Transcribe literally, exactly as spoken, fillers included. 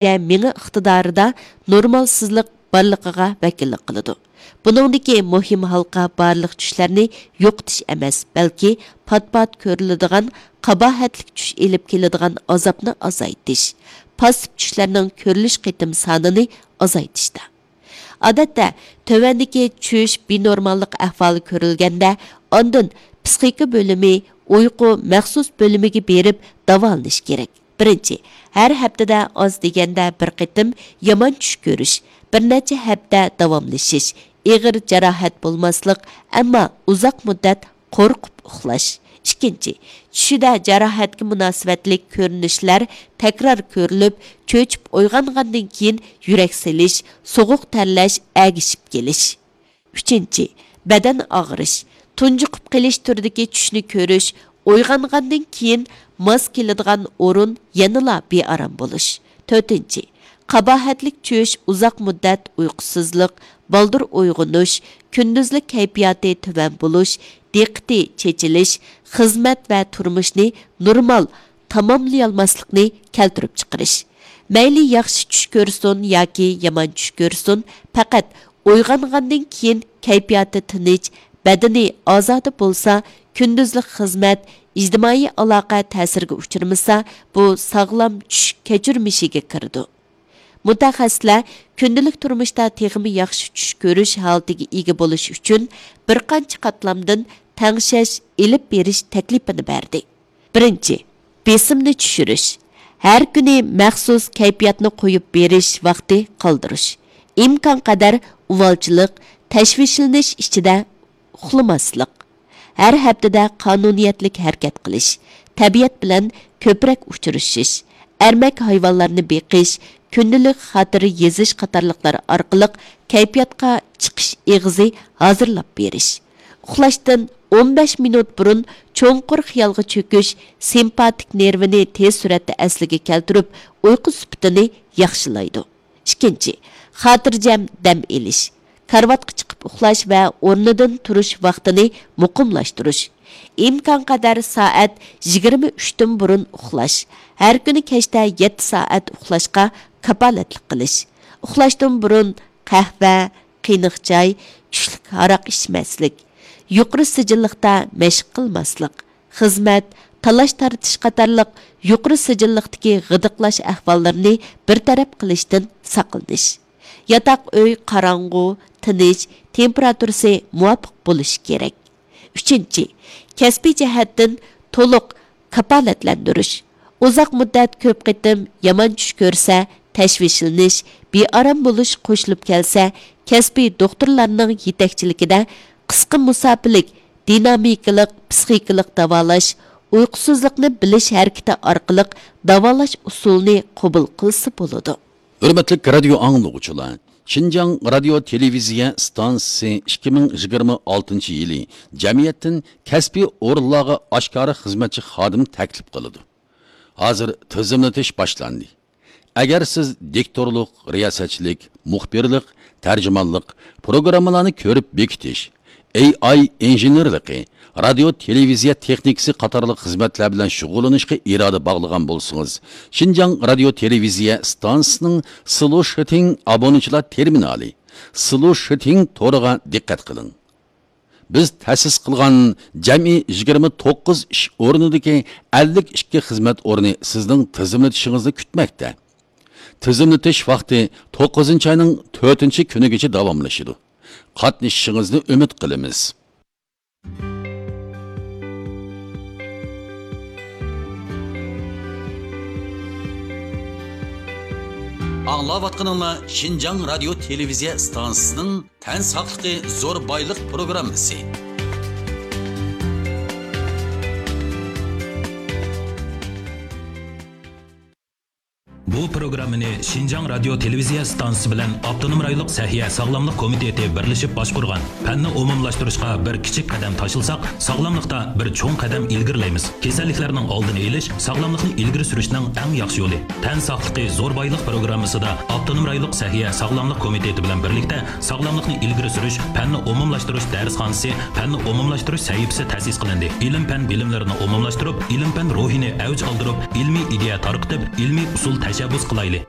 مېڭە ئىقتىدارىدا نورمالسىزلىق بارلىقىغا ۋەكىللىك قىلىدۇ. بۇنىڭدىكى مۇھىم ھالقا بارلىق چۈشلەرنى يوقىتىش ئەمەس، بەلكى پات-پات كۆرۈلىدىغان قاباھەتلىك چۈش ئېلىپ كېلىدىغان ئازابنى ئازايتىش، پاسسىپ چۈشلەرنىڭ كۆرۈلۈش قېتىم سانىنى ئازايتىشتا. ئادەتتە، تۆۋەندىكى چۈش بىنورماللىق ئەھۋالى كۆرۈلگەندە، ئاندىن پسىخىكا بۆلۈمى، ئۇيقۇ مەخسۇس بۆلۈمىگە بېرىپ داۋالىنىش كېرەك. بىرىنچى، ھەر ھەپتىدە ئاز دېگەندە بىر قېتىم يامان چۈش كۆرۈش، بىر نەچچە ھەپتە داۋاملىشىش، ئېغىر جاراھەت بولماسلىق، ئەمما ئۇزاق مۇددەت قورقۇپ ئۇخلاش. ئىككىنچى، چۈشىدە جاراھەتكە مۇناسىۋەتلىك كۆرۈنۈشلەر تەكرار كۆرۈلۈپ، چۆچۈپ ئويغانغاندىن كېيىن يۈرەك سېلىش، سوغۇق تەرلەش، ئەگىشىپ كېلىش. ئۈچىنچى، بەدەن ئاغرىش، تۇنجۇقۇپ قېلىش تۈرىدىكى چۈشنى كۆرۈش، ئويغانغاندىن كېيىن ماس كېلىدىغان ئورۇن يەنىلا بىئارام بولۇش. تۆتىنچى، قاباھەتلىك چۈش، ئۇزاق مۇددەت ئۇيقۇسىزلىق، بالدۇر ئويغىنىش، كۈندۈزلۈك كەيپىياتى تۆۋەن بولۇش، دىققىتى چېچىلىش، خىزمەت ۋە تۇرمۇشنى نورمال تاماملىيالماسلىقنى كەلتۈرۈپ چىقىرىش. مەيلى ياخشى چۈش كۆرسۇن ياكى يامان چۈش كۆرسۇن، پەقەت ئويغانغاندىن كېيىن كەيپىياتى تىنچ، بەدىنى ئازادە بولسا، كۈندۈزلۈك خىزمەت، ئىجتىمائىي ئالاقە تەسىرگە ئۇچرىمىسا، بۇ ساغلام چۈش كەچۈرمىشىگە كىرىدۇ. مۇتەخەسسىسلەر كۈندىلىك تۇرمۇشتا تېخىمۇ ياخشى چۈش كۆرۈش ھالىتىگە ئىگە بولۇش ئۈچۈن بىر قانچە قاتلامدىن تەڭشەش ئېلىپ بېرىش تەكلىپىنى بەردى. بىرىنچى، بېسىمنى چۈشۈرۈش. ھەر كۈنى مەخسۇس كەيپىياتنى قويۇپ بېرىش ۋاقتى قالدۇرۇش. ئىمكانقەدەر ئۇۋالچىلىق، تەشۋىشلىنىش ئىچىدە ئۇخلىماسلىق. ھەر ھەپتىدە قانۇنىيەتلىك ھەرىكەت قىلىش، تەبىئەت بىلەن كۆپرەك ئۇچرىشىش، ئەرمەك ھايۋانلارنى بېقىش، كۈندىلىك خاتىرە يېزىش قاتارلىقلار ئارقىلىق كەيپىياتقا چىقىش ئېغىزى ھازىرلاپ بېرىش. ئۇخلاشتىن ئون بەش مىنۇت بۇرۇن چوڭقۇر خىيالغا چۆكۈش سىمپاتىك نېرۋىنى تېز سۈرئەتتە ئەسلىگە كەلتۈرۈپ، ئۇيقۇ سۈپىتىنى ياخشىلايدۇ. ئىككىنچى، خاتىرجەم دەم ئېلىش. كارىۋاتقا چىقىپ ئۇخلاش ۋە ئورنىدىن تۇرۇش ۋاقتىنى مۇقىملاشتۇرۇش. ئىمكانقەدەر سائەت يىگىرمە ئۈچتىن بۇرۇن ئۇخلاش. ھەر كۈنى كەچتە يەتتە سائەت ئۇخلاشقا كاپالەتلىك قىلىش. ئۇخلاشتىن بۇرۇن قەھۋە، قېنىق چاي، كۈچلۈك ھاراق ئىچمەسلىك. يۇقىرى سىجىللىقتا مەشىق قىلماسلىق. خىزمەت، تالاش-تارتىش قاتارلىق يۇقىرى سىجىللىقتىكى غىدىقلاش ئەھۋاللىرىنى بىر تەرەپ قىلىشتىن ساقلىنىش. ياتاق ئۆي قاراڭغۇ، تىنچ، تېمپېراتۇرىسى مۇۋاپىق بولۇشى كېرەك. ئۈچىنچى، كەسپىي جەھەتتىن تولۇق كاپالەتلەندۈرۈش. ئۇزاق مۇددەت كۆپ قېتىم يامان چۈش كۆرسە، تەشۋىشلىنىش، بىئارام بولۇش قوشۇلۇپ كەلسە، كەسپىي دوختۇرلارنىڭ يېتەكچىلىكىدە قىسقا مۇساپىلىك، دىنامىكىلىق پسىخىكىلىق داۋالاش، ئۇيقۇسىزلىقنى بىلىش ھەرىكىتى ئارقىلىق داۋالاش ئۇسۇلىنى قوبۇل قىلسا بولىدۇ. ھۆرمەتلىك رادىيو ئاڭلىغۇچىلار، شىنجاڭ رادىيو تېلېۋىزىيە ئىستانسىسى ئىككى مىڭ يىگىرمە ئالتىنچى يىلى جەمئىيەتتىن كەسپىي ئورۇنلارغا ئاشكارا خىزمەتچى خادىم تەكلىپ قىلىدۇ. ھازىر تىزىملىتىش باشلاندى. ئەگەر سىز دىكتورلۇق، رىياسەتچىلىك، مۇخبىرلىق، تەرجىمانلىق، پروگراممىلارنى كۆرۈپ بېكىتىش، ئېي ئاي ئىنژېنېرلىقى، رادىيو تېلېۋىزىيە تېخنىكىسى قاتارلىق خىزمەتلەر بىلەن شۇغۇللىنىشقا ئىرادە باغلىغان بولسىڭىز، شىنجاڭ رادىيو تېلېۋىزىيە ئىستانسىسىنىڭ سلوشىتىڭ ئابۇنىچىلار تېرمىنالى، سلوشىتىڭ تورىغا دىققەت قىلىڭ. بىز تەسىس قىلغان جەمئىي يىگىرمە توققۇز ئىش ئورنىدىكى ئەللىك ئىككى خىزمەت ئورنى سىزنىڭ تىزىملىتىشىڭىزنى كۈتمەكتە. تىزىملىتىش ۋاقتى توققۇزىنچى ئاينىڭ تۆتىنچى كۈنىگىچە داۋاملىشىدۇ. قاتنىشىشىڭىزنى ئۈمىد قىلىمىز. ئاڭلاۋاتقىنىڭلار شىنجاڭ رادىيو تېلېۋىزىيە ئىستانسىسىنىڭ تەن ساقلىقى زور بايلىق پروگراممىسى. بۇ پروگراممىنى شىنجاڭ رادىيو تېلېۋىزىيە ئىستانسىسى بىلەن ئاپتونوم رايونلۇق سەھىيە ساغلاملىق كومىتېتى بىرلىشىپ باشقۇرغان. پەننى ئومۇملاشتۇرۇشقا بىر كىچىك قەدەم تاشلىساق، ساغلاملىقتا بىر چوڭ قەدەم ئىلگىرىلەيمىز. كېسەللىكلەرنىڭ ئالدىنى ئېلىش، ساغلاملىقنى ئىلگىرى سۈرۈشنىڭ ئەڭ ياخشى يولى. تەن ساقلىقى زور بايلىق پروگراممىسىدا ئاپتونوم رايونلۇق سەھىيە ساغلاملىق كومىتېتى بىلەن بىرلىكتە ساغلاملىقنى ئىلگىرى سۈرۈش، پەننى ئومۇملاشتۇرۇش دەرسخانىسى، پەننى ئومۇملاشتۇرۇش سەھىپىسى تەسىس قىلىندى. ئىلىم-پەن بىلىملىرىنى ئومۇملاشتۇرۇپ، ئىلىم-پەن روھىنى ئەۋج ئالدۇرۇپ، ئىلمىي ئىدىيە تارقىتىپ، ئىلمىي ئۇسۇل تەشەببۇس قىلايلى.